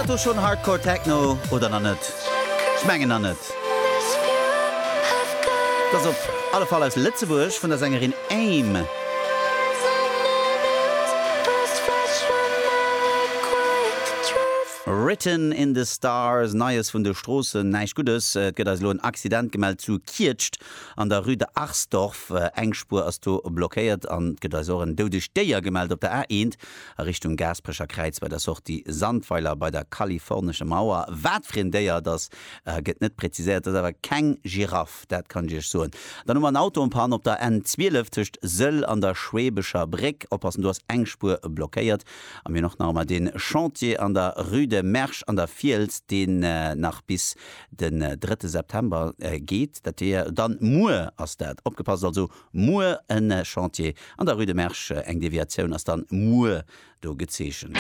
dat do schonn Hardcore Techno oder nach net? Ech mengen nach net. Et ass op alle Fall aus Lëtzebuerg vun der Sängerin Aim. Written in the Stars, Neies vun de Stroossen, näischt Guddes. Et gëtt eis elo en Accident gemellt zu Kietscht an der Rue de Arsdorf. Eng Spuer ass do blockéiert an et gëtt eis och en doudegt Déier gemellt op der A1 a Richtung Gaasperecher Kräiz bei der Sortie Sandweiler bei der kalifornescher Mauer. Wat fir en Déier et ass, gëtt net präziséiert. Et ass awer keng Giraff, dat kann ech iech soen. Dann hu mer en Auto en panne op der N12 tëscht Sëll an der Schweebescher Bréck. Oppassen, do ass eng Spuer blockéiert. A mir hunn och nach ëmmer dee Chantier an der Rue de Mersch an der Fiels, deen nach bis den drëtte September geet. Dat wier dann muer ass dat. Opgepasst also, muer e Chantier an der Rue de Mersch. Eng Deviatioun ass dann muer do gezeechent.